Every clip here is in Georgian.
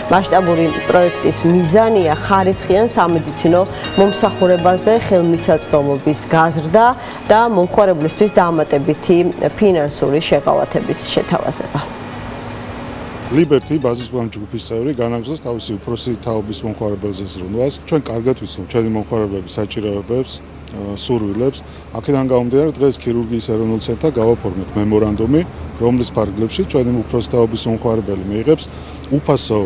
მასშტაბური პროექტის მიზანია ხარისხიან სამედიცინო მომსახურებაზე ხელმისაწვდომობის გაზრდა და მომხმარებლისთვის დამატებითი ფინანსური შეღავათების შეთავაზება. Liberty ბაზისპლანის ჯგუფის წევრი განაგრძობს თავისი უფროსი თაობის მომხმარებელზე ზრუნვას. ჩვენ კარგად ვიცნობთ ჩვენი მომხმარებლების საჭიროებებს, სურვილებს. აქედან გამომდინარე დღეს ქირურგიის ეროვნულ ცენტრთან გავაფორმეთ მემორანდუმი, რომლის ფარგლებში ჩვენი უფროსი თაობის მომხმარებელი მიიღებს უფასო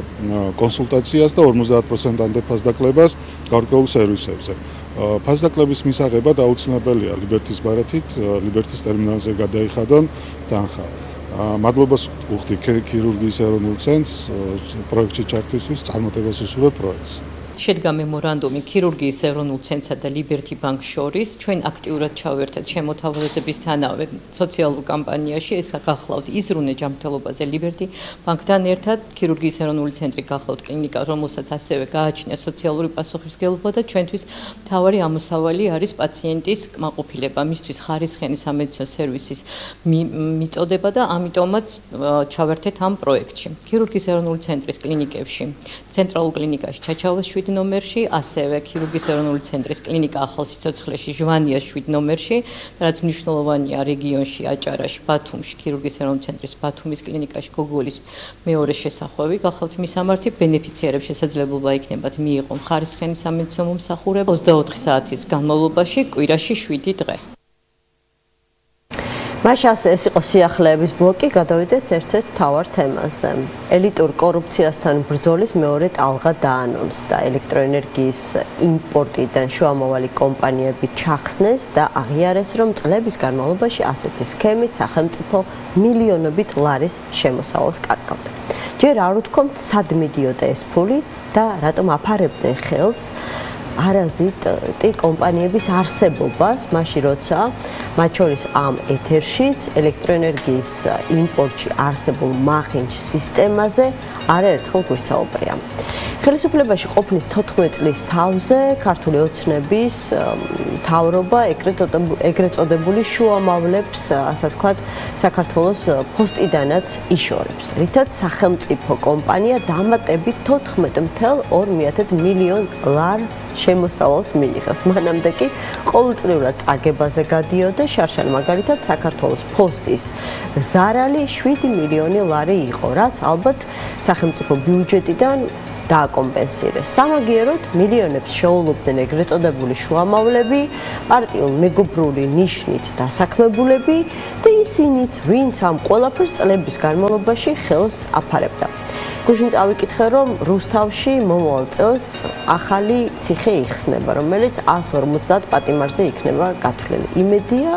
კონსულტაციას და 50%-ამდე ფასდაკლებას გარკვეულ სერვისებზე. ფასდაკლების მისაღებად აუცილებელია Liberty-ის ბარათით, Liberty-ის ტერმინალზე გადაიხადონ თანხა. მადლობას ვუხდი ქირურგიის ეროვნულ ცენტრს პროექტში ჩართვისთვის, წარმატებას უსურვებ პროექტს. შედგა მემორანდუმი ქირურგიის ეროვნულ ცენტრსა და Liberty Bank-ს შორის. ჩვენ აქტიურად ჩავერთეთ შემოთავაზებისთანავე სოციალურ კამპანიაში. ეს გახლავთ იზრუნე ჯანმრთელობაზე Liberty Bank-თან ერთად. ქირურგიის ეროვნული ცენტრი გახლავთ კლინიკა, რომელსაც ასევე გააჩნია სოციალური პასუხისმგებლობა და ჩვენთვის მთავარი ამოსავალი არის პაციენტის კმაყოფილება, მისთვის ხარისხიანი სამედიცინო სერვისის მიწოდება და ამიტომაც ჩავერთეთ ამ პროექტში. ქირურგიის ეროვნული ცენტრის კლინიკებში, ცენტრალურ კლინიკაში ჩაჩავას 7 ნომერში, ასევე ქირურგიის ეროვნული ცენტრის კლინიკა ახალ სიცოცხლეში, ჟვანიას 7 ნომერში, რაც მნიშვნელოვანია რეგიონში, აჭარაში, ბათუმში, ქირურგიის ეროვნული ცენტრის ბათუმის კლინიკაში, გოგოლის მეორე შესახვევი, გახლავთ მისამართი, ბენეფიციარებს შესაძლებლობა იქნებათ მიიღონ ხარისხიანი სამედიცინო მომსახურება 24 საათის განმავლობაში, კვირაში 7 დღე. მაშას ეს იყო სიახლეების ბლოკი, გადავიდეთ ერთ-ერთ მთავარ თემაზე. ელიტურ კორუფციასთან ბრძოლის მეორე ტალღა დაანონსდა. ელექტროენერგიის იმპორტიდან შუამავალი კომპანიები ჩახსნეს და აღიარეს, რომ წლების განმავლობაში ასეთი სქემით სახელმწიფო მილიონობით ლარის შემოსავალს კარგავდა. ჯერ არ უთქვამთ, სად მიდიოდა ეს ფული და რატომ აფარებდნენ ხელს არაზიტი კომპანიების არსებობას, მაშინ როცა მათ შორის ამ ეთერშიც ელექტროენერგიის იმპორტში არსებულ მაღინჯ სისტემაზე არაერთხელ გვისაუბრია. ხელისუფლებაში ყოფნის 14 წლის თავზე ქართული ოცნების მთავრობა ეგრეთ წოდებული შუამავლებს, ასე ვთქვათ, საქართველოს ფოსტიდანაც იშორებს, რითაც სახელმწიფო კომპანია დამატებით 14.2 მილიონ ლარს შემოსავალს მიიღებს. მანამდე კი ყოველწლიურად წაგებაზე გადიოდა შარშან მაგალითად საქართველოს ფოსტის ზარალი 7 მილიონი ლარი იყო, რაც ალბათ სახელმწიფო ბიუჯეტიდან დააკომპენსირეს. სამაგიეროდ მილიონებს შეულობდნენ ეგრეთ წოდებული შუამავლები, პარტიულ მეგობრული ნიშნით დასაქმებულები და ისინიც, ვინც ამ ყველაფერს წლების განმავლობაში ხელს აფარებდა. გუშინ წავიკითხე, რომ რუსთავში მომავალ წელს ახალი ციხე იხსნება, რომელიც 150 პატიმარზე იქნება გათვლილი. იმედია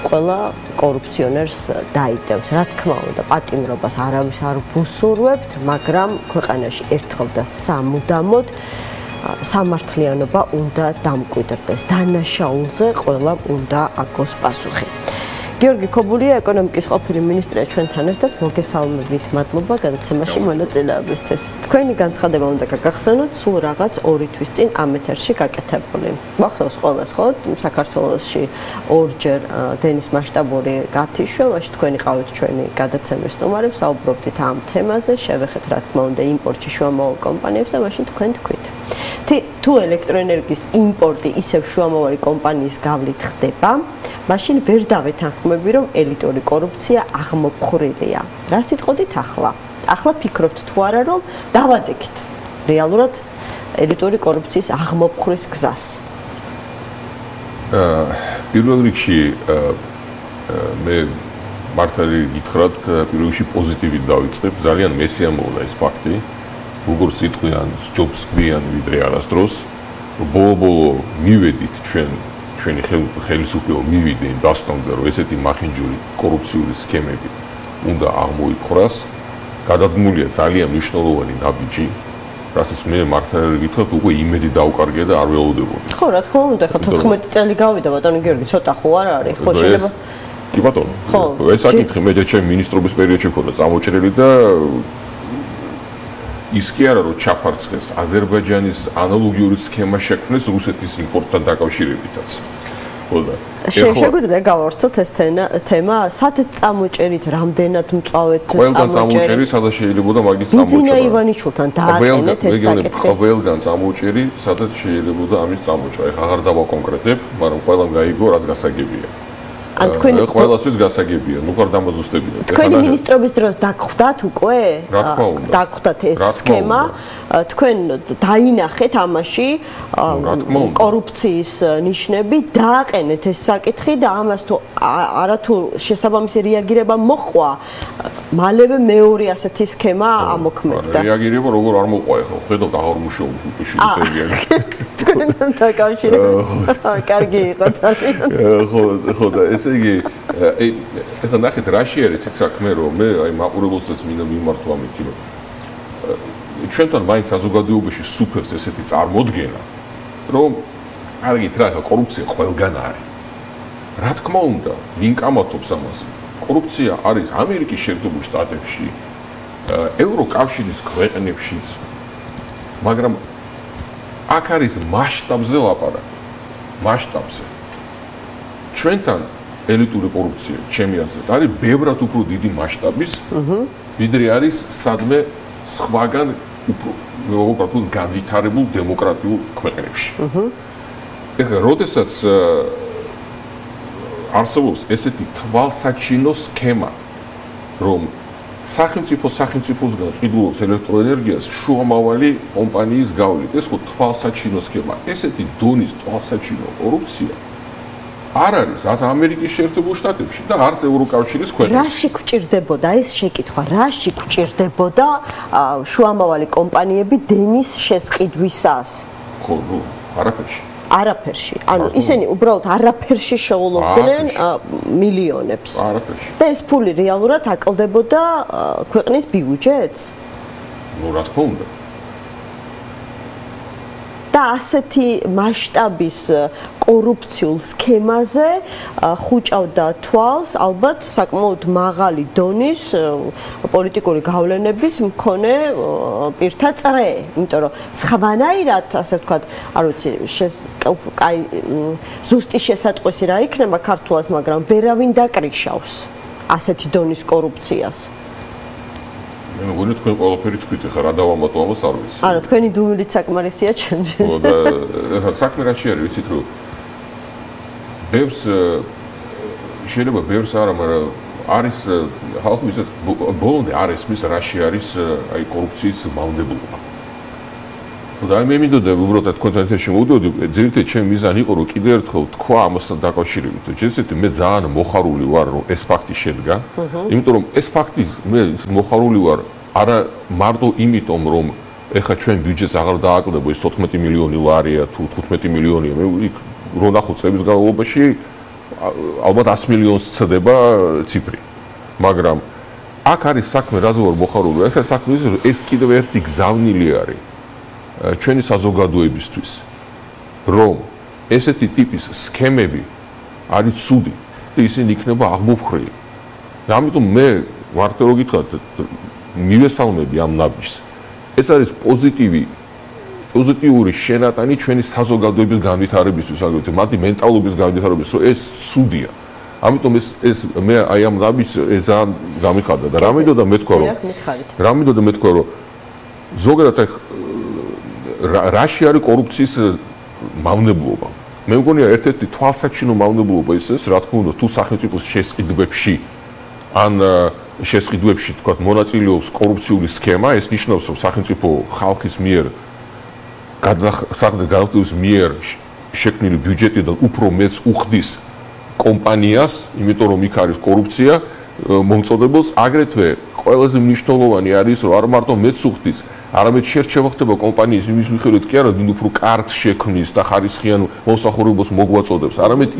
ყველა კორუფციონერს დაიდევს. რა თქმა უნდა, პატიმრობას არავის არ ვუსურვებთ, მაგრამ ქვეყანაში ერთხელ და სამუდამოდ სამართლიანობა უნდა დამკვიდრდეს. დანაშაულზე ყველა უნდა აგოს პასუხი. გიორგი ქობულია, ეკონომიკის ყოფილი მინისტრია ჩვენთან ერთად. მოგესალმებით, მადლობა გადაცემაში მონაწილეობისთვის. თქვენი განცხადება უნდა გაგახსენოთ სულ რაღაც 2 თვის წინ ამ ეთერში გაკეთებული. მახსოვს ყველას, ხო? საქართველოში ორჯერ დენის მასშტაბური გათიშვა, მაშინ თქვენი ყავით ჩვენი გადაცემის სტუმარებს, საუბრობდით ამ თემაზე, შევეხეთ რა თქმა უნდა იმპორტში შუამავალ კომპანიებს და მაშინ თქვენ თქვით. თუ ელექტროენერგიის იმპორტი ისევ შუამავალი კომპანიის გავლით ხდება, მაშინ ვერ დავეთანხმები, რომ ელიტური კორუფცია აღმოფხრილია. რა სიტყოდით ახლა? ახლა ფიქრობთ თუ არა, რომ დავადექით რეალურად ელიტური კორუფციის აღმოფხვრის გზას? პირველ რიგში მე მართალი გითხრათ, პირველ რიგში პოზიტივით დავიწყებ, ძალიან მესიამოვნა ეს ფაქტი. როგორც იტყვიან, ჯობს გვიან ვიდრე არასდროს, ბოლო-ბოლო მივედით ჩვენი ხელისუფლება მივიდა იმ დასტომზე, რომ ესეთი მახინჯური კორუფციული სქემები უნდა აღმოიფხვრას. გადადგმულია ძალიან მნიშვნელოვანი ნაბიჯი, რასაც მე მართალი გითხრათ, უკვე იმედი დავკარგე და არ ველოდებოდი. ხო, რა თქმა უნდა, ხო 14 წელი გავიდა, ბატონო გიორგი, ცოტა ხო არ არის? ხო შეიძლება კი ბატონო. ეს საკითხი მე ჩემი მინისტრობის პერიოდში მქონდა წამოჭრილი და ის კი არა რომ ჩაფარცხეს აზერბაიჯანის ანალოგიური სქემა შექმნეს რუსეთის იმპორტთან დაკავშირებითაც. ხოდა. შეგვიძლია გავავრცოთ ეს თემა, სადაც წამოჭერით, რამდენად მწვავედ წამოჭერით. ყველგან წამოჭერი, სადაც შეიძლება და მაგის წამოჭერა. ბიძინა ივანიშვილთან დააყენეთ ეს საკითხი. ყველგან წამოჭერი, სადაც შეიძლება ამის წამოჭრა. ეხლა აღარ დავაკონკრეტებ, მაგრამ ყველამ გაიგო, რაც გასაგებია. ან თქვენ ყველასთვის გასაგებია, ნუ ხარ დამაზუსტებინოთ. თქვენი მინისტრობის დროს დაგხვდათ უკვე? რა თქმა უნდა. დაგხვდათ ეს სქემა. თქვენ დაინახეთ ამაში კორუფციის ნიშნები, დააყენეთ ეს საკითხი და ამას თუ არათუ შესაბამისი რეაგირება მოხვა, მალევე მეორე ასეთი სქემა ამოქმედდა. რეაგირება როგორ არ მოყვა ახლა, ხედავთ აღარ მუშაობ ისე თქვენთან დაკავშირებით. კარგი იყო ძალიან. ხო და ესე იგი ეხლა ნახეთ რაში არის ეს საქმე რომ მე აი მაყურებელსაც მინდა მიმართვა ამითი რომ ჩვენთან მაინც საზოგადოებაში სუფევს ესეთი წარმოდგენა რომ არგით რა ხა კორუფცია ყველგან არის რა თქმა უნდა ვინ კამათობს ამას კორუფცია არის ამერიკის შეერთებულ შტატებში ევროკავშირის ქვეყნებშიც მაგრამ აქ არის მასშტაბზე ლაპარაკი მასშტაბზე ჩვენთან ელიტური კორუფცია ჩემი აზრით არის ბევრად უფრო დიდი მასშტაბის ვიდრე არის სადმე სხვაგან უფრო განვითარებულ დემოკრატიულ ქვეყნებში. ეხლა როდესაც არსებობს ესეთი თვალსაჩინო სქემა, რომ სახელმწიფოსგან ყიდულობს ელექტროენერგიას შუამავალი კომპანიის გავლით, ეს ხო თვალსაჩინო სქემა, ესეთი დონის თვალსაჩინო კორუფცია არ არის არც ამერიკის შეერთებულ შტატებში და არც ევროკავშირის ქვეყნებში. რაში გვჭირდებოდა ეს შეკითხვა? რაში გვჭირდებოდა შუამავალი კომპანიები დენის შესყიდვისას? ხო, არაფერში. არაფერში. ანუ ისინი უბრალოდ არაფერში შეულობდნენ მილიონებს. არაფერში. და ეს ფული რეალურად აკლდებოდა ქვეყნის ბიუჯეტს? ნუ რა თქმა უნდა. და ასეთი მასშტაბის კორუფციულ სქემაზე ხუჭავდა თვალს ალბათ საკმაოდ მაღალი დონის პოლიტიკური გავლენების მქონე პირთა წრე, იმიტომ რომ სხვანაირად, ასე ვთქვათ, არ ვიცი, კაი ზუსტი შესატყვისი რა იქნება ქართულად, მაგრამ ვერავინ დაკრიშავს ასეთი დონის კორუფციას. მე მგონი თქვენ ყველაფერი თქვით, ახლა რა დავამატო ამას არ ვიცი. არა, თქვენი დუმილით საკმარისია ჩემთვის. ხო და ახლა საქმე რაში არის, ვიცით რომ ბევრს შეიძლება ბევრს არა, მაგრამ არის ხალხი ვისაც ბოლომდე არ ესმის რაში არის აი კორუფციის მავნებლობა. და მე მინდოდა უბრალოდ თქვენთან ერთად შემოვიდოდი, ძირითადად ჩემი მიზანი იყო რომ კიდევ ერთხელ თქვა ამასთან დაკავშირებით, რომ ჯერ მე ძალიან მოხარული ვარ რომ ეს ფაქტი შედგა, იმიტომ რომ ეს ფაქტი მე მოხარული ვარ არა მარტო იმიტომ რომ ეხა ჩვენ ბიუჯეტს აღარ დააკლებო ეს 14 მილიონი ლარია თუ 15 მილიონია, მე იქ რო ნახო წლების განმავლობაში ალბათ 100 მილიონს ცდება ციფრი. მაგრამ აქ არის საქმე რაზე ვარ მოხარული, ეხლა საქმე ის რომ ეს კიდევ ერთი გზავნილი არის ჩვენი საზოგადოებისთვის რომ ესეთი ტიპის სქემები არის ცუდი და ისინი იქნება აღმოფხრილი. და ამიტომ მე ვართ რომ გითხრათ მივესალმები ამ ნაბიჯს. ეს არის პოზიტიური შენატანი ჩვენი საზოგადოების განვითარებისთვის, აგრეთვე მათი მენტალობის განვითარებისთვის, რომ ეს ცუდია. ამიტომ ეს მე აი ამ ნაბიჯს ძალიან გამიხარდა და რა მინდოდა მეთქვა რომ ზოგადად რაში არის კორუფციის მავნებლობა. მე მგონია ერთ-ერთი თვალსაჩინო მავნებლობა ის რა თქმა უნდა თუ სახელმწიფოს შესყიდვებში ან შესყიდვებში თქვა მონაწილეობს კორუფციული სქემა, ეს ნიშნავს რომ სახელმწიფო ხალხის მიერ გადახდის მიერ შექმნილი ბიუჯეტიდან უფრო მეც უხდის კომპანიას, იმიტომ რომ იქ არის კორუფცია მომწოდებელს, აგრეთვე ყველაზე მნიშვნელოვანი არის რომ არ მარტო მეც უხდის არამედ შერჩევა ხდება კომპანიის იმის მიხედვით კი არა, ვინ უფრო კარგს შექმნის და ხარისხიან მომსახურებას მოგვაწოდებს, არამედ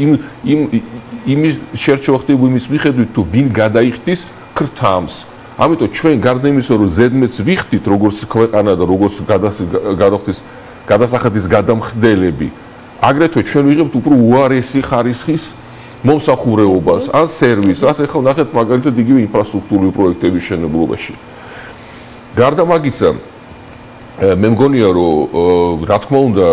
იმის შერჩევა ხდება იმის მიხედვით თუ ვინ გადაიხდის ქრთამს. ამიტომ ჩვენ გარდა იმისა რომ ზედმეტს ვიხდით როგორც ქვეყანა და როგორც გადასახადის გადამხდელები, აგრეთვე ჩვენ ვიღებთ უფრო უარესი ხარისხის მომსახურებას, ან სერვისს, ასე ხო ნახეთ მაგალითად იგივე ინფრასტრუქტურული პროექტების მშენებლობაში. გარდა მაგისა, მე მგონია რომ რა თქმა უნდა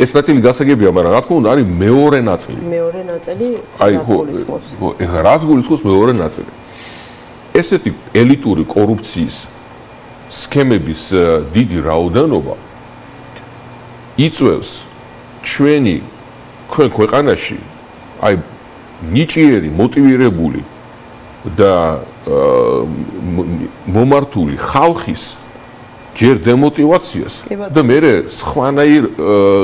ეს ნაწილი გასაგებია, მაგრამ რა თქმა უნდა, არის მეორე ნაწილი. მეორე ნაწილი რას გულისხმობს? ეხლა რას გულისხმობს მეორე ნაწილი? ესეთი ელიტური კორუფციის სქემების დიდი რაოდენობა იწვევს ჩვენი ქვეყანაში აი ნიჭიერი, მოტივირებული და მომართული ხალხის ჯერ დემოტივაციას და მერე სხვანაირ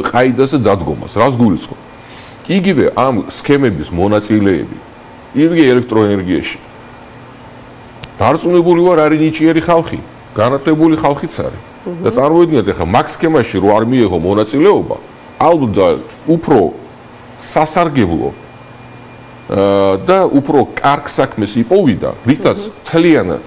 ყაიდაზე დადგომას. რას გულისხმობ? იგივე ამ სქემების მონაწილეები, იგივე ელექტროენერგიაში დარწმუნებული ვარ, არის ნიჭიერი ხალხი, განათლებული ხალხიც არის. და წარმოიდგინეთ, ახლა მაგ სქემაში რო არ მიიღო მონაწილეობა, ალბათ უფრო სასარგებლო და უფრო კარგ საქმეს იპოვიდა, რითაც თლიანად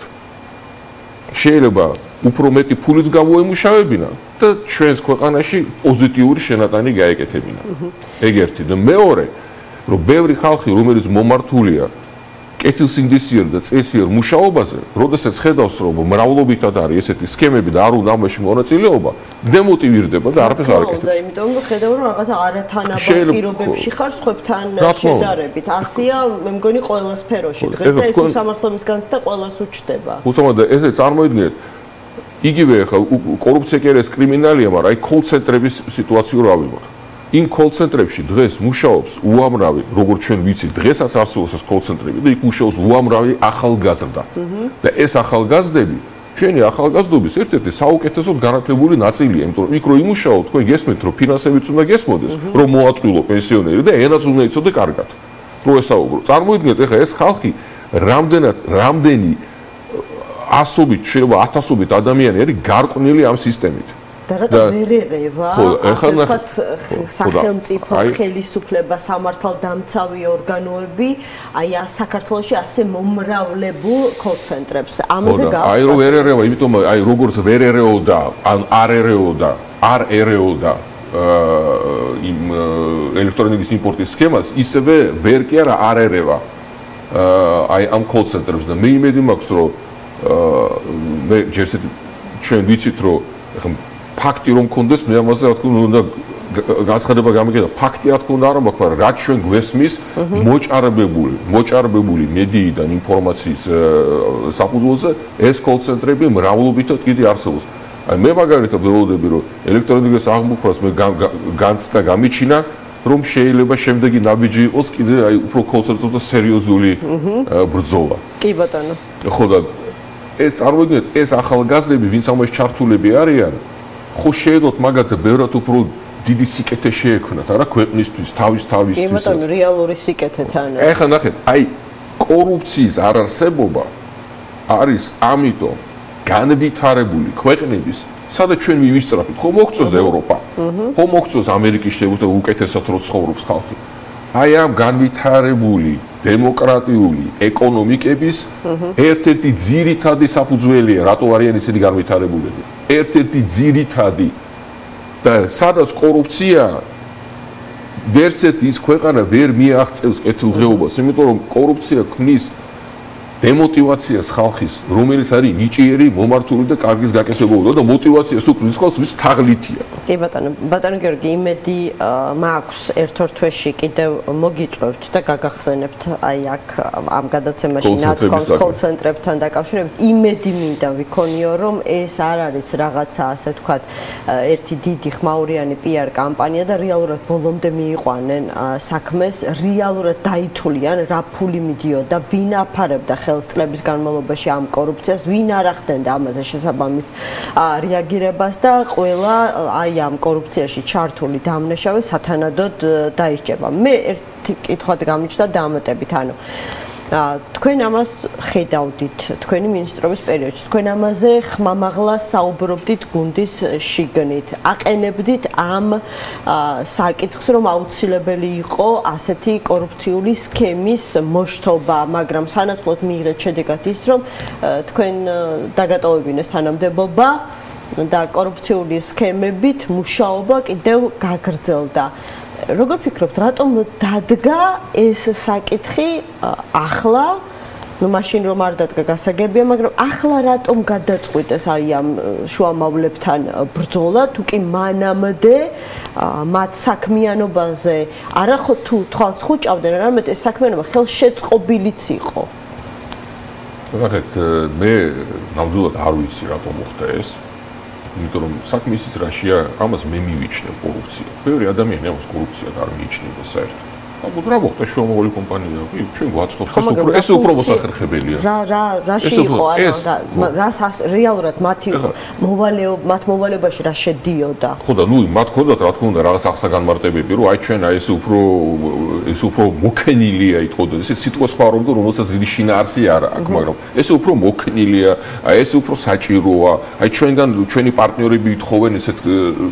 შეიძლება უფრო მეტი ფულიც გამოემუშავებინა და ჩვენს ქვეყანაში პოზიტიური შენატანი გაეკეთებინა. ეგ ერთი. და მეორე, რომ ბევრი ხალხი, რომელიც მომართულია კეთილსინდისიერ და წესიერ მუშაობაზე, როდესაც ხედავს, რომ მრავლობითად არის ესეთი სქემები და არ უნდა ამაში მონაწილეობა, დემოტივირდება და არაფერს არ აკეთებს. და იმიტომ რომ ხედავ, რომ რაღაცა არათანაბარ პირობებში ხარ სხვებთან შედარებით. ასია, მე მგონი ყველა სფეროში. დღეს და ეს უსამართლობის განცდა ყველას უჩნდება. უცამად და ესე წარმოიდგინეთ, იგივე ხა კორუფცია კი არის კრიმინალია, მაგრამ აი კოლ-ცენტრების სიტუაციურ ავიღოთ. იმ კოლ-ცენტრებში დღეს მუშაობს უამრავი, როგორც ჩვენ ვიცით, დღესაც არსებობს ეს კოლ-ცენტრები და იქ მუშაობს უამრავი ახალგაზრდა. და ეს ახალგაზრდები ჩვენი ახალგაზრდობის ერთ-ერთი საუკეთესოდ განათლებული ნაწილია, იმიტომ რომ იქ რო იმუშაო, თქვენ გესმენთ, რომ ფინანსებიც უნდა გესმოდეს, რომ მოატყვილო პენსიონერი და ენაც უნდა იცოდე კარგად. რო ესაუბრო. წარმოიდგინეთ, ეხლა ეს ხალხი რამდენი ასობით, შეიძლება ათასობით ადამიანი არის გარყვნილი ამ სისტემით. და რატო ვერ ერევა, ასე ვთქვათ, სახელმწიფო ხელისუფლება, სამართალდამცავი ორგანოები, აი საქართველოში ასე მომრავლებულ კოლ-ცენტრებს. ამაზე გავხსნა. აი რო ვერ ერევა, იმიტომ აი როგორც ვერ ერეოდა, ან არ ერეოდა იმ ელექტრონიკის იმპორტის სქემას, ისევე ვერ კი არა არ ერევა აი ამ კოლ-ცენტრებს და მე იმედი მაქვს, რომ მე ჯერ ჩვენ ვიცით, რომ ფაქტი რომ მქონდეს, მე ამაზე რა თქმა უნდა განცხადება გამიგედა. ფაქტი რა თქმა უნდა არ მაქვს, მაგრამ რაც ჩვენ გვესმის, მოჭარბებული მედიიდან ინფორმაციის საფუძველზე ეს კოლ-ცენტრები მრავლობითად კიდე არსებობს. აი მე მაგალითად ველოდები, რომ ელექტრონიკის აღმოფხვრას მე განცდა გამიჩინა, რომ შეიძლება შემდეგი ნაბიჯი იყოს კიდე აი უფრო კოლ-ცენტრებთან სერიოზული ბრძოლა. კი ბატონო. ხო და ეს წარმოიდგინეთ, ეს ახალგაზრდები, ვინც ამაში ჩართულები არიან, ხო შეედოთ მაგათ ბევრად უფრო დიდი სიკეთე შეექმნათ, არა ქვეყნისთვის, თავისთვის. კი ბატონო, რეალური სიკეთეთან. ეხლა ნახეთ, აი კორუფციის არარსებობა არის ამიტომ განვითარებული ქვეყნების, სადაც ჩვენ მივისწრაფით, ხო მოგწოს ევროპა, ხო მოგწოს ამერიკის შეგვიძლია უკეთესად რო ცხოვრობს ხალხი. აი ამ განვითარებული დემოკრატიული ეკონომიკების ერთ-ერთი ძირითადი საფუძველია, რატო არიან ისეთი განვითარებულები. ერთ-ერთი ძირითადი და სადაც კორუფცია ვერც ერთი ის ქვეყანა ვერ მიაღწევს კეთილდღეობას, იმიტომ რომ კორუფცია ქმნის დემოტივაციას ხალხის, რომელიც არის ნიჭიერი, მომართული და კარგის გაკეთებულობა და მოტივაციას უქმნის ხალხს, ვის თაღლითია. კი ბატონო გიორგი, იმედი მაქვს ერთ-ორ თვეში კიდევ მოგიწევთ და გაგახსენებთ აი აქ ამ გადაცემაში ნათქვამს კოლ-ცენტრებთან დაკავშირებით. იმედი მინდა ვიქონიო, რომ ეს არ არის რაღაცა, ასე ვთქვათ, ერთი დიდი ხმაურიანი PR კამპანია და რეალურად ბოლომდე მიიყვანენ საქმეს, რეალურად დაითვლიან, რა ფული მიდიოდა, ვინ აფარებდა ხელს წლების განმავლობაში ამ კორუფციას, ვინ არ ახდენდა ამაზე შესაბამის რეაგირებას და ყველა აი ამ კორუფციაში ჩართული დამნაშავე სათანადოდ დაისჯება. მე ერთი კითხვად გამიჩნდა დამატებით, ანუ თქვენ ამას ხედავდით თქვენი მინისტრობის პერიოდში, თქვენ ამაზე ხმამაღლა საუბრობდით გუნდის შიგნით, აყენებდით ამ საკითხს, რომ აუცილებელი იყო ასეთი კორუფციული სქემის მოშთობა, მაგრამ სანაცვლოდ მიიღეთ შედეგად ის, რომ თქვენ დაგატოვებინეს თანამდებობა და კორუფციული სქემებით მუშაობა კიდევ გაგრძელდა. როგორ ფიქრობთ, რატომ დადგა ეს საკითხი ახლა ნუ მაშინ რომ არ დადგა გასაგებია, მაგრამ ახლა რატომ გადაწყვიტეს აი ამ შუამავლებთან ბრძოლა, თუ კი მანამდე მათ საქმიანობაზე არა ხო თუ თვალს ხუჭავდნენ, არამედ ეს საქმიანობა ხელშეწყობილიც იყო. ნახეთ, მე ნამდვილად არ ვიცი რატომ მოხდა ეს. იმიტომ რომ საქმე ისიც რაშია, ამას მე მივიჩნევ კორუფცია. ბევრი ადამიანი ამას კორუფციად არ მიიჩნევს საერთოდ. ალბათ რა მოხდა შუამავალი კომპანია, ჩვენ გვაწყობთ, ეს უფრო მოსახერხებელია. რაში იყო, რას რეალურად მათ მოვალეობაში რა შედიოდა? ხო და ნუ მათ ქონდათ რა თქმა უნდა რაღაც აღსაგანმარტებები, რომ აი ჩვენ აი ეს უფრო მოქნილია ითხოვდა, ეს სიტყვა სხვა რომ რომელსაც დიდი შინაარსი არ აქვს, მაგრამ ეს უფრო მოქნილია, აი ეს უფრო საჭიროა, აი ჩვენი პარტნიორები ითხოვენ ესეთ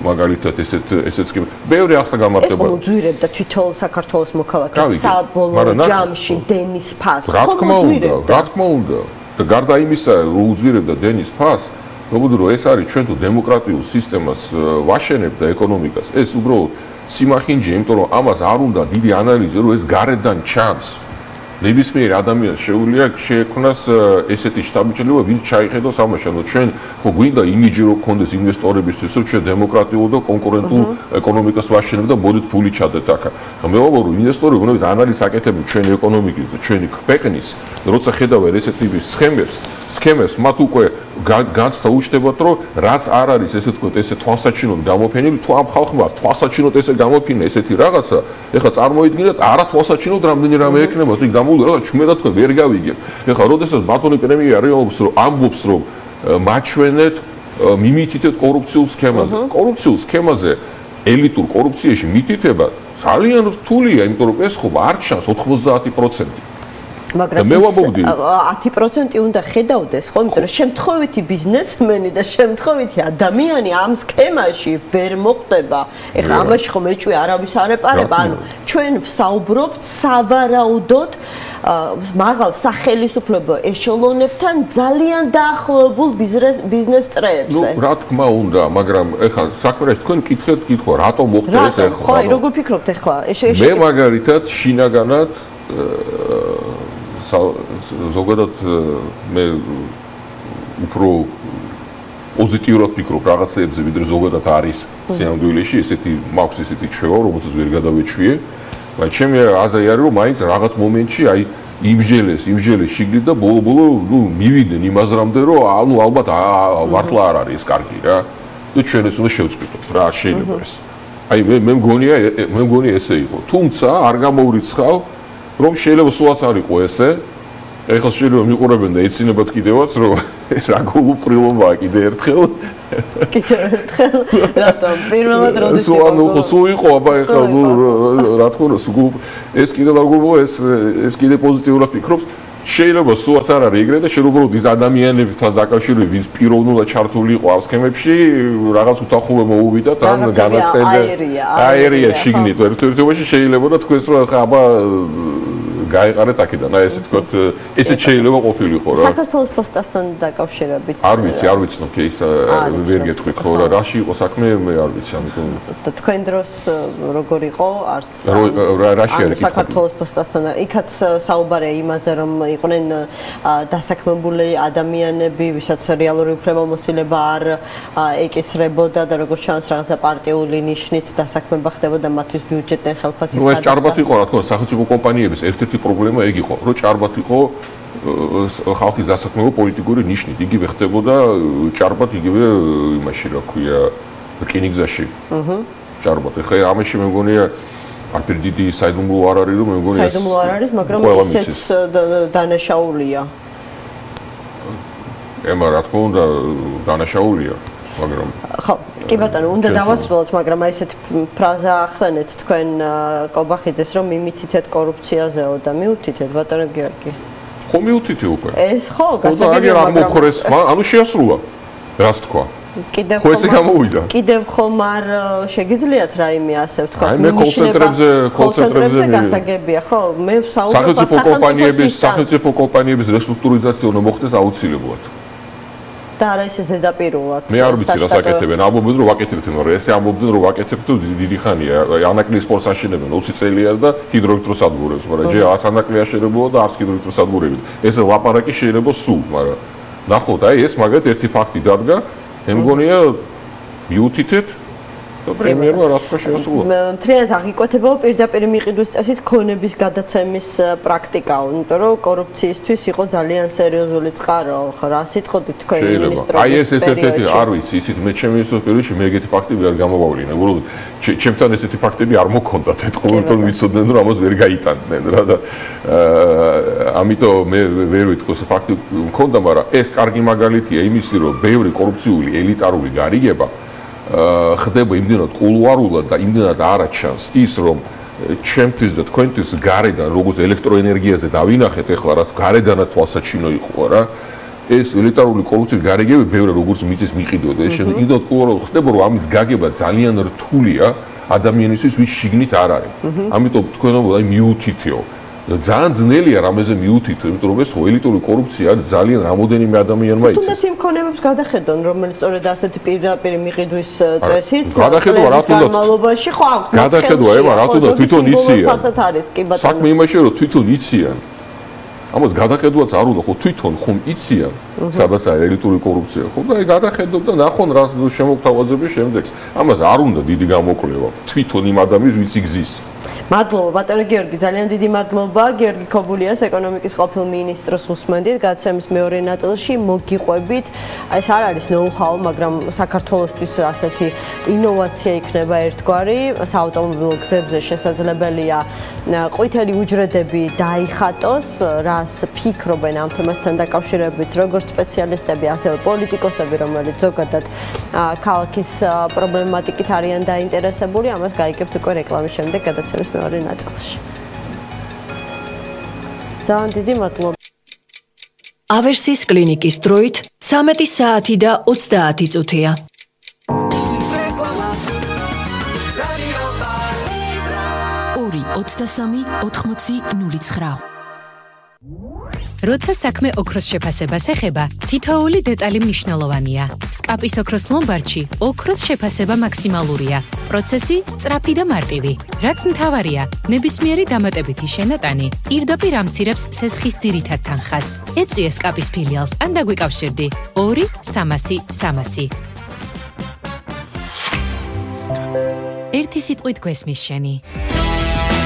მაგალითად ესეთ სქემას. ბევრი აღსაგანმარტება. ეს მოძვირებდა თვითონ საქართველოს მოქალაქეს საბოლოო ჯამში დენის ფასს. რა თქმა უნდა. და გარდა იმისა, რომ უძვირებდა დენის ფასს, მოგდრო ეს არის ჩვენ თუ დემოკრატიულ სისტემას ვაშენებთ და ეკონომიკას, ეს უბრალოდ სიმახინჯე, იმიტომ რომ ამას არ უნდა დიდი ანალიზი, რომ ეს გარედან ჩანს. ნებისმიერ ადამიანს შეუძლია შეექმნას ესეთი შთაბეჭდილება, ვინც ჩაიხედოს ამაში. ანუ ჩვენ ხო გვინდა იმიჯი რო გქონდეს ინვესტორებისთვის, რომ ჩვენ დემოკრატიულ და კონკურენტულ ეკონომიკას ვაშენებთ და მოდით ფული ჩადეთ აქ. მე ვამბობ, რომ ინვესტორები უნდა ანალიზს აკეთებენ ჩვენი ეკონომიკის და ჩვენი ქვეყნის, როცა ხედავენ ესეთ ტიპის სქემებს, მათ უკვე განცდა უჩნდებათ, რომ რაც არ არის ესე თქვა, ესე თვალსაჩინოდ გამოფენილი, თუ ამ ხალხმა თვალსაჩინოდ ესე გამოფინა ესეთი რაღაცა, ეხლა წარმოიდგინეთ, არა თვალსაჩინოდ რამდენი რამე ექნება, იქ რა ჩვენად თქვენ ვერ გავიგებ. ეხლა როდესაც ბატონი პრემიერი ამბობს რომ მაჩვენეთ მიმითითეთ კორუფციულ სქემაზე. კორუფციულ სქემაზე ელიტურ კორუფციაში მითითება ძალიან რთულია, იმიტომ რომ ეს ხო არ ჩანს 90%. მაგრამ 10% უნდა ხედავდეს, ხო, იმიტომ რომ შემთხვევითი ბიზნესმენი და შემთხვევითი ადამიანი ამ სქემაში ვერ მოხდება. ეხლა ამაში ხომ ეჭვი არავის არ ეპარება, ანუ ჩვენ ვსაუბრობთ სავარაუდოდ მაღალ სახელმწიფო ეშელონებთან ძალიან დაახლოებულ ბიზნეს წრეებზე. ნუ რა თქმა უნდა, მაგრამ ეხლა საქმეში თქვენ კითხვა, რატომ მოხდა ეს ეხლა? ხო, როგორ ფიქრობთ ეხლა? მე მაგალითად შინაგანად ზოგადად მე უფრო პოზიტიურად ვფიქრობ რაღაცეებზე, ვიდრე ზოგადად არის სიამდვილეში, ესეთი მაქვს ესეთი ჩვევა, რომელსაც ვერ გადავეჩვიე. მაგრამ ჩემი აზრი არის, რომ მაინც რაღაც მომენტში აი იმჟელეს შიგნით და ბოლო ნუ მივიდნენ იმაზრამდე, რომ ანუ ალბათ მართლა არ არის ეს კარგი რა. და ჩვენ ეს უნდა შევწყვიტოთ რა, შეიძლება ეს. აი მე მგონია ესე იყო. თუმცა არ გამოვრიცხავ რომ შეიძლება სულაც არ იყო ესე. ეხლა შეიძლება მიყურებენ და ეცინებათ კიდევაც რომ რა გულუბრილობაა კიდე ერთხელ. რატომ? პირველად როდის იყო? სულ იყო, აბა ეხლა რა თქმა უნდა, ეს კიდე რა გულუბრილობა, ეს კიდე პოზიტიურად ფიქრობს. შეიძლება სულაც არ არის ეგრე და შეიძლება ის ადამიანებთან დაკავშირებით, ვინც პიროვნულად ჩართული იყო ამ სქემებში, რაღაც უთანხმოება მოუვიდათ, ან განაცხადდა აერია შიგნით ერთობაში შეიძლება და თქვენს რომ ხა აბა გაიყარეთ აქედან, აი ესე თქვათ, ესეც შეიძლება ყოფილიყო რა. საქართველოს პოსტასთან დაკავშირებით. არ ვიცნობ ის ვერ გეტყვით ხო რა, რაში იყო საქმე, მე არ ვიცი, ამიტომ და თქვენ დროს როგორ იყო, არც რაში არის საქართველოს პოსტასთან, იქაც საუბარია იმაზე, რომ იყვნენ დასაქმებული ადამიანები, ვისაც რეალური უფლებამოსილება არ ეკისრებოდა და როგორც ჩანს რაღაცა პარტიული ნიშნით დასაქმება ხდებოდა მათთვის ბიუჯეტიდან ხელფასის გადახდა. ეს ჭარბად იყო, რა თქმა უნდა, სახელმწიფო კომპანიების ერთ-ერთი პრობლემა ეგ იყო, რომ ჭარბად იყო ხალხის დასაქმება პოლიტიკური ნიშნით. იგივე ხდებოდა ჭარბად იგივე იმაში, რა ქვია, რკინიგზაში. ჭარბად. ეხლა ამაში მე მგონია არაფერი დიდი საიდუმლო არ არის, რომ მე მგონია საიდუმლო არ არის, მაგრამ ისეც დანაშაულია. ემა რა თქმა უნდა დანაშაულია. მაგრამ ხო, კი ბატონო, უნდა დავასრულოთ, მაგრამ აი ესეთ ფრაზა ახსენეთ თქვენ კობახიძეს, რომ მიმითითეთ კორუფციაზეო და მიუთითეთ ბატონო გიორგი. ხო მიუთითე უკვე. ეს ხო, გასაგებია, მაგრამ ანუ შეასრულა. რას თქვა? კიდევ ხო ესე გამოვიდა. კიდევ ხომ არ შეგიძლიათ რაიმე ასე ვთქვა, მე კოლცენტრებზე გასაგებია, ხო? მე ვსაუბრობ სახელმწიფო კომპანიების რესტრუქტურიზაცია უნდა მოხდეს აუცილებლად. და არა ისე ზედაპირულად. მე არ ვიცი რა საკეთებენ, ამბობენ რომ ვაკეთებთ, მაგრამ ესე ამბობდნენ რომ ვაკეთებთ დიდი ხანია. ანაკლიის სპორტს აშენებენ 20 წელია და ჰიდროელექტროსადგურებს, მაგრამ ჯერ არც ანაკლი აშენებულა და არც ჰიდროელექტროსადგურები. ეს ლაპარაკი შეიძლება სულ, მაგრამ ნახოთ, აი ეს მაგათ ერთი ფაქტი დადგა, მე მგონია მიუთითეთ და პრემიერმა რასკა შეასრულა. მთლიანად აღიკვეთება პირდაპირ მიყიდვის წესით ქონების გადაცემის პრაქტიკა, იმიტომ რომ კორუფციისთვის იყო ძალიან სერიოზული წყარო, რა სიტყოდით თქვენ მინისტრობის. აი ეს ერთ-ერთი არ ვიცი, ისიც მე ჩემი მინისტრობის პერიოდში მე ეგეთი ფაქტები არ გამოვავლინე. უბრალოდ ჩემთან ესეთი ფაქტები არ მოქონდათ ეთყობა, იმიტომ ვიცოდნენ რომ ამას ვერ გაიტანდნენ რა და ამიტომ მე ვერ ვიტყვი ეს ფაქტი მქონდა, მაგრამ ეს კარგი მაგალითია იმისი, რომ ბევრი კორუფციული ელიტარული გარიგება ხდება იმდენად კულუარულად და იმდენად არაჩანს ის რომ ჩემთვის და თქვენთვის გარედან როგორც ელექტროენერგიაზე დავინახეთ ეხლა რაც გარედანაც თვალსაჩინო იყო რა ეს ელიტარული კორუფციის გარიგებები ბევრი როგორც მიწის მიყიდვოდა ეს შემდეგ იმდენად კულუარულად ხდება რომ ამის გაგება ძალიან რთულია ადამიანისთვის ვის შიგნით არ არის ამიტომ თქვენ აი მიუთითეო ძალიან ძნელია რამეზე მიუთითო, იმიტომ რომ ეს ელიტური კორუფცია ძალიან რამოდენიმე ადამიანმა იცის. თუნდაც იმ ქონებებს გადახედონ, რომელიც სწორედ ასეთი პირდაპირ მიყიდვის წესით გადახედვა რა თუნდაც განმავლობაში ხო გადახედვა ება რა თუნდაც თვითონ იციან. ფასად არის კი ბატონო. საქმე იმაშია რომ თვითონ იციან. ამას გადახედვაც არ უნდა ხო თვითონ ხომ იციან სადაც არის ელიტური კორუფცია ხო და აი გადახედოთ და ნახონ რას შემოგთავაზების შემდეგს. ამას არ უნდა დიდი გამოკვლევა თვითონ იმ ადამიანს ვინც იგზის. მადლობა ბატონო გიორგი, ძალიან დიდი მადლობა. გიორგი ქობულიას ეკონომიკის ყოფილ მინისტრს უსმენდით გაცემის მეორე ნაწილში მოგიყვებით. აი ეს არ არის ნოუ-ჰაუ, მაგრამ საქართველოსთვის ასეთი ინოვაცია იქნება ერთგვარი. საავტომობილო გზებზე შესაძლებელია ყვითელი უჯრედები დაიხატოს, რას ფიქრობენ ამ თემასთან დაკავშირებით როგორც სპეციალისტები, ასევე პოლიტიკოსები, რომელიც ზოგადად ქალაქის პრობლემატიკით არიან დაინტერესებული. ამას გაიგებთ უკვე რეკლამის შემდეგ გადაცემის მეორე ნაწილში. ძალიან დიდი მადლობა. ავერსის კლინიკის დროით 13 საათი და 30 წუთია. ორი 23 80 09. როცა საქმე ოქროს შეფასებას ეხება, თითოეული დეტალი მნიშვნელოვანია. სკაპის ოქროს ლომბარდში ოქროს შეფასება მაქსიმალურია. პროცესი სწრაფი და მარტივი. რაც მთავარია, ნებისმიერი დამატებითი შენატანი პირდაპირ ამცირებს სესხის ძირითად თანხას. ეწვიე სკაპის ფილიალს ან დაგვიკავშირდი 2 300 300. ერთი სიტყვით გვესმის შენი.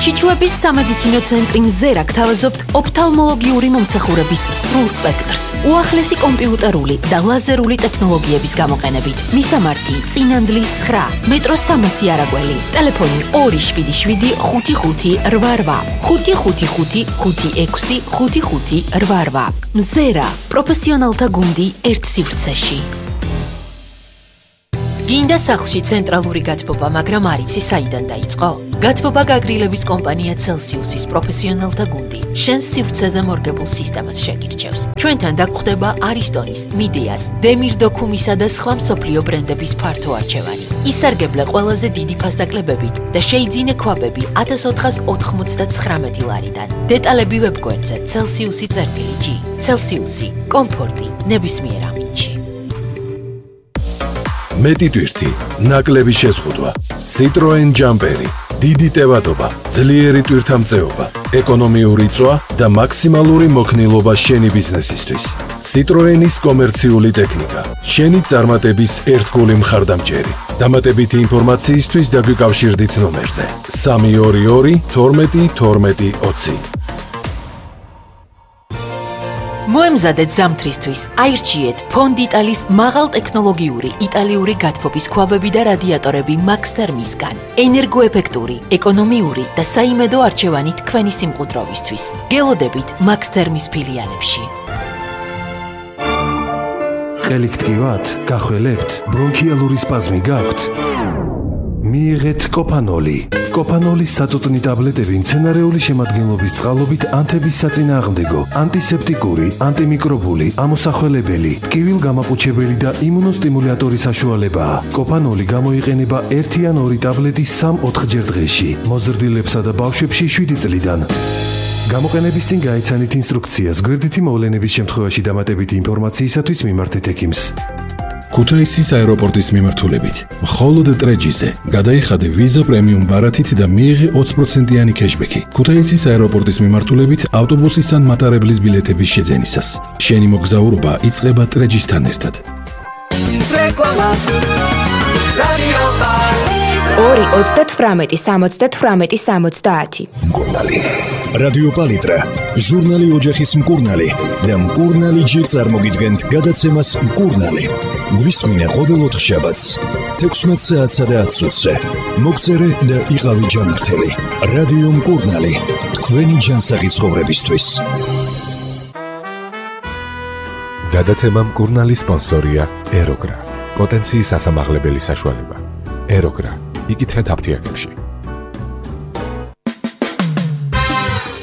ჩიჩუების სამედიცინო ცენტრი მზერა გთავაზობთ ოფთალმოლოგიური მომსახურების სრულ სპექტრს, უახლესი კომპიუტერული და ლაზერული ტექნოლოგიების გამოყენებით. მისამართი წინანდლის 9, მეტრო 300 არაგველი, ტელეფონი 277 55 88, 555 56 55 88. მზერა, პროფესიონალთა გუნდი ერთ სივრცეში. გინდა სახლში ცენტრალური გათბობა, მაგრამ არ იცი საიდან დაიწყო? გათბობა გაგრილების კომპანია Celsius-ის პროფესიონალთა გუნდი შენს სივრცეზე მორგებულ სისტემას შეგირჩევს. ჩვენთან დაგხვდება Aristonis, Mideas, Demir Documisa და სხვა მსოფლიო ბრენდების ფართო არჩევანი. ისარგებლე ყველაზე დიდი ფასდაკლებებით და შეიძინე ქვაბები 1499 ლარიდან. დეტალები ვებგვერდზე Celsius.g. Celsius-ი, კომფორტი ნებისმიერ ამინდში. მეტი ტვირთი, ნაკლები შეზღუდვა, Citroen Jumperi, დიდი ტევადობა, ძლიერი ტვირთამწეობა, ეკონომიური წვა და მაქსიმალური მოქნილობა შენი ბიზნესისთვის. Citroen-ის კომერციული ტექნიკა, შენი წარმატების ერთგული მხარდამჭერი. დამატებითი ინფორმაციისთვის დაგვიკავშირდით ნომერზე 322 12 12 20. მოემზადეთ ზამთრისთვის, აირჩიეთ ფონდიტალის მაღალტექნოლოგიური იტალიური გათბობის ქვაბები და რადიატორები Max Thermis-გან. ენერგოეფექტური, ეკონომიური და საიმედო არჩევანი თქვენი სიმყუდროვისთვის. გელოდებით Max Thermis ფილიალებში. ყელით გივათ, გახველებთ, ბრონქიალური სპაზმი გაქვთ? მიიღეთ კოპანოლი. კოპანოლის საწუწნი ტაბლეტები მცენარეული შემადგენლობის წყალობით ანთების საწინააღმდეგო, ანტისეპტიკური, ანტიმიკრობული, ამოსახველებელი, ტკივილგამაყუჩებელი და იმუნოსტიმულატორი საშუალებაა. კოპანოლი გამოიყენება 1 ან 2 ტაბლეტი 3-4 ჯერ დღეში. მოზრდილებსა და ბავშვებში 7 წლიდან. გამოყენების წინ გაიცანით ინსტრუქციას გვერდითი მოვლენების შემთხვევაში დამატებითი ინფორმაციისათვის მიმართეთ ექიმს. ქუთაისის აეროპორტის მიმართულებით მხოლოდ ტრეჯიზე გადაიხადე ვიზა პრემიუმ ბარათით და მიიღე 20%-იანი кэშბექი. ქუთაისის აეროპორტის მიმართულებით ავტობუსის ან მატარებლის ბილეთების შეძენისას. შენი მოგზაურობა იწყება ტრეჯისთან ერთად. რეკლამა რადიო 2-38-78-70. მკურნალი. რადიო პალიტრა, ჟურნალი ოჯახის მკურნალი და მკურნალი ჯერ წარმოგიდგენთ გადაცემას მკურნალი. გვისმინე ყოველ 4 შაბათს 16 საათსა და 10 წუთზე. მოგწერე და იყავი ჯანმრთელი. რადიო მკურნალი, თქვენი ჯანსაღი ცხოვრებისთვის. გადაცემა მკურნალი სპონსორია ეროგრა. პოტენციის ასამაღლებელი საშუალება. ეროგრა. იკითხეთ აფთიაქებში.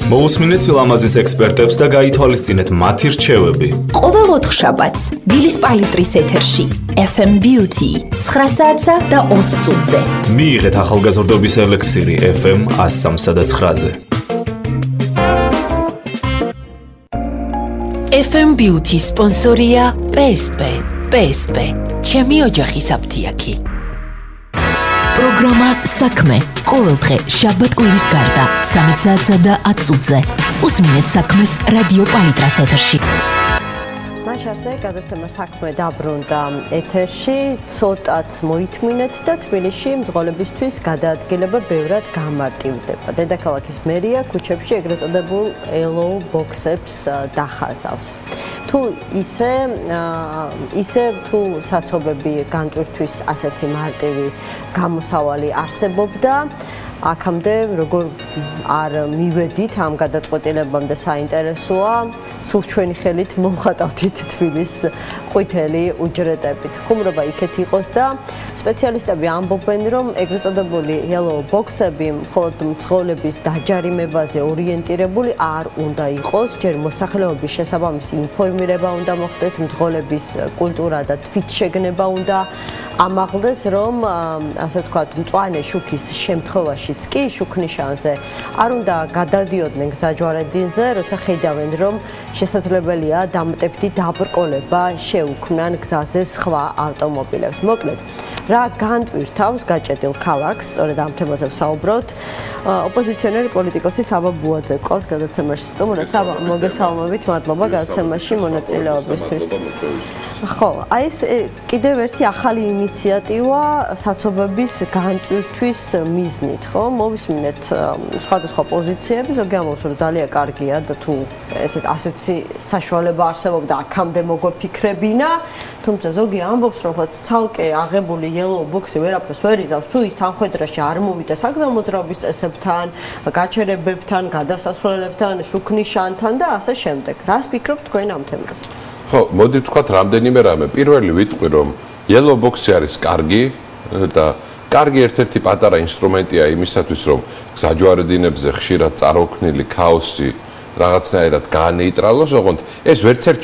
მოусმინეთ სილამაზის ექსპერტებს და გაითვალისწინეთ მათი რჩევები. ყოველ 4 შაბათს დილის პალიტრის ეთერში FM Beauty 9 საათსა და 20 წუთზე. მიიღეთ ახალგაზრდობის ელექსირი FM 103 და 9-ზე. FM Beauty სპონსორია PSP. PSP. ჩემი ოჯახის აფთიაქი. პროგრამა საქმე ყოველდღე შაბათ-კვირის გარდა 13 საათსა და 10 წუთზე. უსმინეთ საქმეს რადიო პალიტრას ეთერში. მაშასე გადაცემა საქმე დაბრუნდა ეთერში, ცოტაც მოითმინეთ და თბილისში მძღოლებისთვის გადაადგილება ბევრად გამარტივდება. დედაქალაქის მერია ქუჩებში ეგრეთ წოდებულ ელოუ ბოქსებს დახაზავს. თუ ისე თუ საცობები განტვირთვის ასეთი მარტივი გამოსავალი არსებობდა, აქამდე როგორ არ მივედით ამ გადაწყვეტილებამდე საინტერესოა, სულ ჩვენი ხელით მოვხატავთ თბილის ყვითელი უჯრედებით. ხუმრობა იქეთ იყოს და სპეციალისტები ამბობენ, რომ ეგრეთ წოდებული yellow box-ები მხოლოდ მძღოლების დაჯარიმებაზე ორიენტირებული არ უნდა იყოს, ჯერ მოსახლეობის შესაბამისი ინფორმირება უნდა მოხდეს, მძღოლების კულტურა და თვითშეგნება უნდა ამაღლდეს, რომ ასე ვთქვათ, მწვანე შუქის შემთხვევაშიც კი შუქნიშანზე არ უნდა გადადიოდნენ გზაჯვარედინზე, როცა ხედავენ, რომ შესაძლებელია დამატებითი დაბრკოლება შეუქმნან გზაზე სხვა ავტომობილებს. მოკლედ, რა განტვირთავს გაჭედილ ქალაქს, სწორედ ამ თემაზე ვსაუბრობთ. ოპოზიციონერი პოლიტიკოსი საბა ბუაძე ყავს გადაცემაში სტუმრად. საბა, მოგესალმებით, მადლობა გადაცემაში მონაწილეობისთვის. ხო, აი ეს კიდევ ერთი ახალი ინიციატივა საცობების განტვირთვის მიზნით, ხო? მოვისმინეთ სხვადასხვა პოზიციები, ზოგი ამბობს, რომ ძალიან კარგია და თუ ასეთი საშუალება არსებობდა, აქამდე მოგვეფიქრებინა, თუმცა ზოგი ამბობს, რომ ცალკე აღებული yellow box-ი ვერაფერს ვერ იზავს, თუ ის სამხედროში არ მოვიდა საგზავნო მოძრაობის წესებთან, გაჩერებებთან, გადასასვლელებთან, შუქნიშანთან და ასე შემდეგ. რას ფიქრობთ თქვენ ამ თემაზე? ხო, მოდი ვთქვათ რამდენიმე რამე. პირველი ვიტყვი, რომ yellow box-ი არის კარგი და კარგი ერთ-ერთი პატარა ინსტრუმენტია იმისათვის, რომ გზაჯვარედინებზე ხშირად წარმოქმნილი ქაოსი რაღაცნაირად გაანეიტრალოს, ოღონდ ეს ვერც ერთ